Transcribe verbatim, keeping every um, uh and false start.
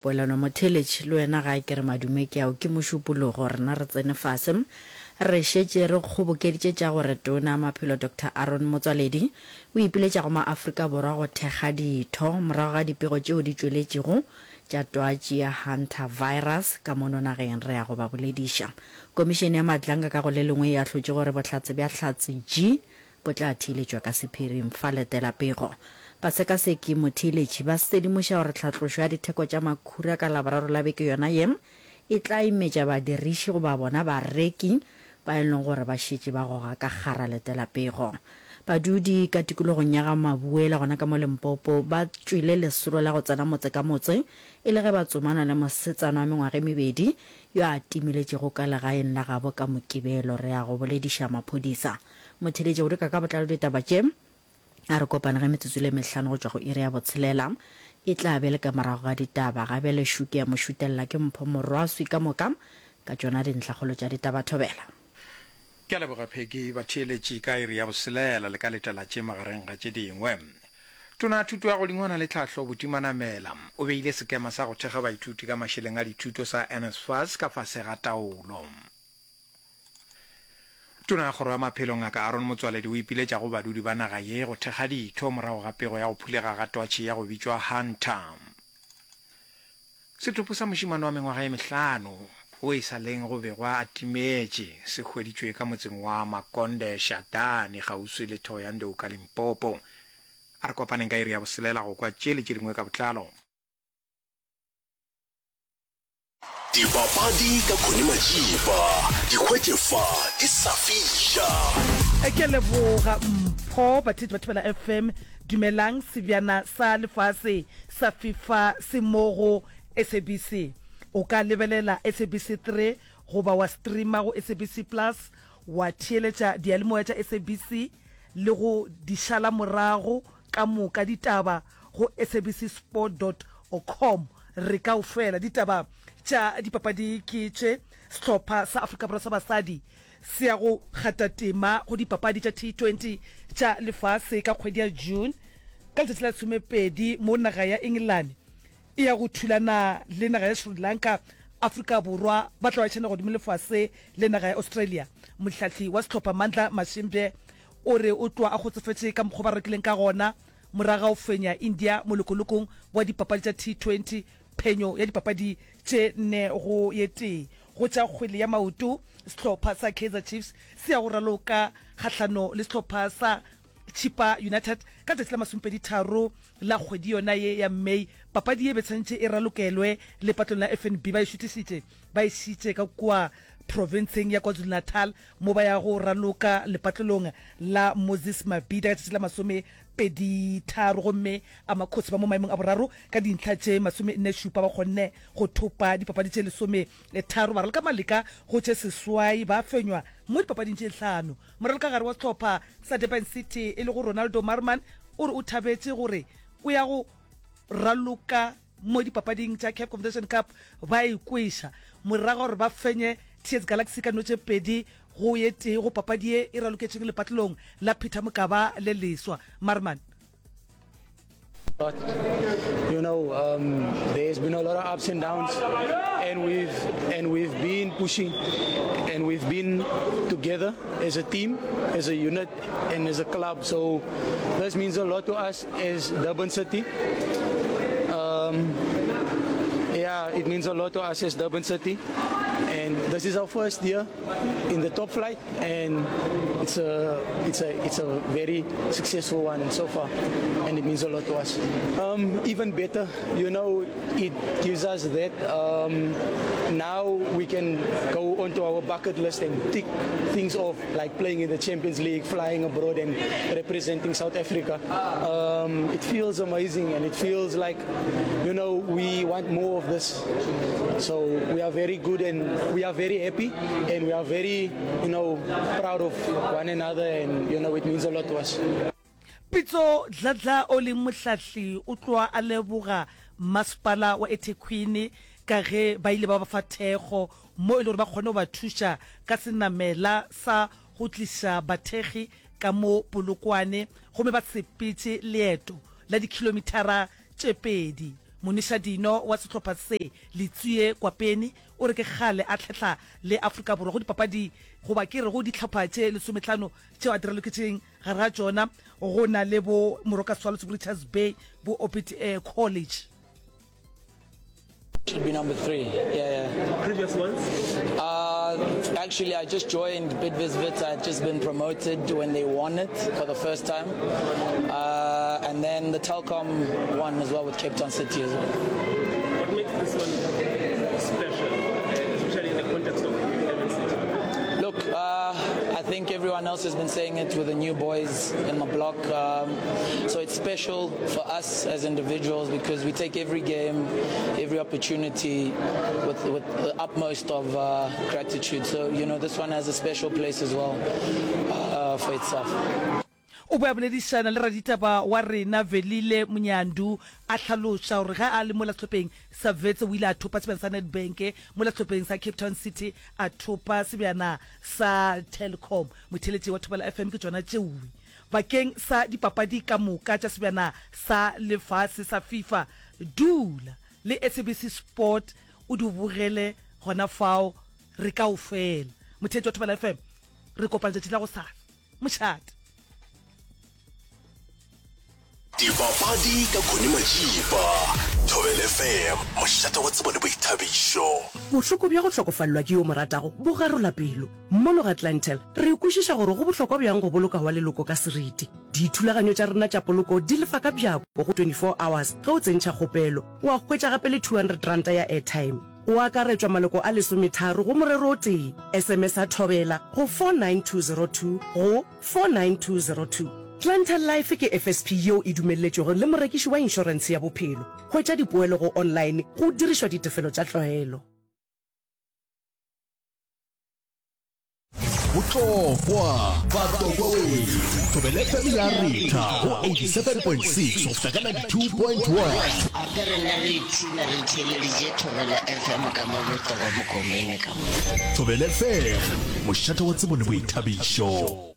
Poelano Motheeletši, le wena gae ke re madume ke ao, ke Mošupologo, rena re tsene fase. Re šetše re kgobokeditše tša gore Tona ya Maphelo Doctor Aaron Motsoaledi o ipiletša go maAfrika Borwa go thekga ditho morago ga dipego tšeo di tšweletšego tša twatši ya Hantavirus ka mono nageng. Re ya go ba bolediša. Komišene ya Madlanga ka go le lengwe e ahlotše gore bohlatse bja Hlatse G bo tla theeletšwa ka sephiring. Fa letela pego. Basekaseki motheeletši ba sedimoša gore tlhatlošo ya ditheko tša makhura ka Laboraro la beke yona ye e tla imetša badiriši goba bona bareki ba e leng gore ba šetše ba goga ka kgara. Letela pego. Badudi ka tikologong ya ga Mabuela gona ka mo Limpopo ba tšwele lesolo la go tsena motse ka motse e le ge ba tsomana le mosetsana wa mengwaga e mebedi yo a timeletšego ka legaeng la gabo ka Mokibelo. Re ya go bolediša maphodisa. Motheeletši go dika ka botlalo ditaba tše a re kopane ge metsotso le mehlano go tšwa go iri ya botshelela e tla be le ka morago ga ditaba. Ga bjale šuke ya mošutella ke Mpho Morwaswi ka moka ka tšona dintlhakgolo tša ditaba. Thobela. Ke a leboga Peggy. Batheeletši ka iri ya boselela le ka letela tše magareng ga tše dingwe. Tona ya Thuto ya Godingwana le Tlhahlo Buti Manamela o beile sekema sa go thekga baithuti ka mašeleng a dithuto sa NSFAS ka fase ga taolo. Tona ya Kgoro ya Maphelo Ngaka Aaron Motsoaledi o ipiletša go badudi ba naga ye go thekga ditho morago ga pego ya go phulega ga twatši ya go bitšwa Hunter. Setopo sa mošemane wa mengwaga ye mehlano wo e sa leng go begwa a timetše se hweditšwe ka motseng wa Makonde Shadani kgauswi le Thohoyandou ka Limpopo. A re kopaneng ka iri ya boselela go kwa tše le tše dingwe ka botlalo. Dipapadi ka Connie Majiba, di hwetše fa di sa fiša. Ke a leboga Mpho. Batheetši ba Thobela F M, dumelang. Sebjana sa lefase sa FIFA se mo go S A B C. O ka lebelela S A B C three goba wa streama go S A B C Plus, wa theeletša diyalemoya tša S A B C le go di šala morago ka moka ditaba go S A B C sport dot com. Re kaofela ditaba tša dipapadi ke tše, Sehlopha sa Afrika Borwa sa basadi se ya go kgatha tema go dipapadi tša T twenty tša lefase ka kgwedi ya June ka letšatši la lesomepedi mo naga ya Engelane e ya go thulana le naga ya Sri Lanka. Afrika Borwa ba tla ba tšhena godimo lefase le naga ya Australia. Mohlahli wa sehlopha Mandla Mashimbye o re o tloga a kgotsofetše ka mokgwa ba rekileng ka gona morago ga go fenya India molokolokong wa dipapadi tša T twenty, phenyo ya dipapadi tše nne go ye tee. Go tša kgwele ya maoto, sehlopha sa Kaizer Chiefs se ya go raloka kgahlano le sehlopha sa Chippa United ka letšatši la masomepedi tharo la kgwedi yona ye ya May. Papadi ye be tshwanetše e ralokelwe lepatlong la F N B, ba e šuthišitše ba e šitše ka kua profenseng ya KwaZulu-Natal mo ba ya go raloka lepatlelong la Moses Mabhida ka tšatši la masomepedi tharo. Gomme Amakhosi ba mo maemong a boraro ka dintlha tše masome nne šupa, ba kgonne go thopa dipapadi tše lesome tharo, ba raloka maleka go tše seswai, ba fenywa mo dipapading tše hlano. Moralokagare wa sehlopha sa Durban City e lego Ronaldo Maarman o re o thabetše gore o ya go raloka mo dipapading tša CAF Confederation Cup ba e kweša morago gore ba fenye T S Galaxy ka no tše pedi go ye tee go papadi ye e raloketšeng lepatlelong la Peter Mokaba le leswa. Maarman. But you know, um, there's been a lot of ups and downs, and we've and we've been pushing, and we've been together as a team, as a unit, and as a club. So this means a lot to us as Durban City. Um, yeah, it means a lot to us as Durban City, and this is our first year in the top flight, and it's a it's a it's a very successful one so far, and it means a lot to us. Um, even better, you know, it gives us that um, now we can go onto our bucket list and tick things off, like playing in the Champions League, flying abroad, and representing South Africa. Um, it feels amazing, and it feels like, you know, we want more of this. So we are very good, and we are very happy, and we are very, you know, proud of one another, and you know, it means a lot to us. Pitso Dladla o leng mohlahli o tloa a leboga masepala wa eThekwini ka ge ba ile ba ba fa thekgo mo e le gore ba kgone go ba thuša ka senamela sa go tliša bathekgi ka mo Polokwane, gomme ba sepetše leeto la dikhilomithara tše pedi. Monišadino wa sehlopha se, Letsie Kwapeni, o re ke kgale a tlhehla le Afrika Borwa go dipapadi goba ke re go dihlopha tše lesomehlano tšeo a di raloketšeng, gare ga tšona go na le bo Moroka Swallows, bo Richards Bay, bo Orbit College. Should be number three. Yeah, yeah. Previous ones? Uh, actually, I just joined Bidvest Wits. I had just been promoted when they won it for the first time. Uh, and then the Telkom one as well with Cape Town City as well. What makes this one special, especially in the context of Durban City? Look, uh, I think everyone else has been saying it with the new boys in the block. Um, so it's special for us as individuals because we take every game, every opportunity with, with the utmost of uh, gratitude. So, you know, this one has a special place as well uh, for itself. O be a boledišana le raditaba wa rena Velile Munyandu a hlaloša gore ge a le mola sehlopheng sa Wits o ile a thopa sebjana sa Nedbank, mola sehlopheng sa Cape Town City a thopa sebjana sa Telkom. Motheeletši wa Thobela F M ke tšona tšeoe bakeng sa dipapadi ka moka tša sebjana sa lefase sa FIFA. Dula le S A B C Sport o di bogele gona fao re kaofela. Motheeletši wa Thobela F M re kopana tšatši la gosasa. Mošate. Dipapadi ka Connie Majiba, Thobela F M, mošate wa tsebo le boithabišo. Bohloko bja go hlokofalelwa ke yo mo ratago bo garola pelo. Mono ga Clientele, re kwešiša gore go bohlokwa bjang go boloka wa leloko ka seriti. Dithulaganyo tša rena tša poloko di lefa ka bjako go twenty-four hours ge o tsentšha kgopelo. Wa hwetša gape le two hundred ranta ya airtime. Go akaretšwa maloko a lesometharo go morero o tee. S M S a Thobela go four nine two zero two go four nine two zero two. Clientele Life ke F S P yeo e dumelletšwego le morekiši wa inšorentshe ya bophelo. Hwetša dipoelo go online go dirišwa ditefelo tša tlwaelo. Botlokwa, Batlokwa wethu, Thobela F M ya retha go eighty-seven point six go fihla ka ninety-two point one. Gape rena re ipshina re theeleditše Thobela F M ka mo Botlokwa Mokomene ka mo. Thobela F M, mošate wa tsebo le boithabišo.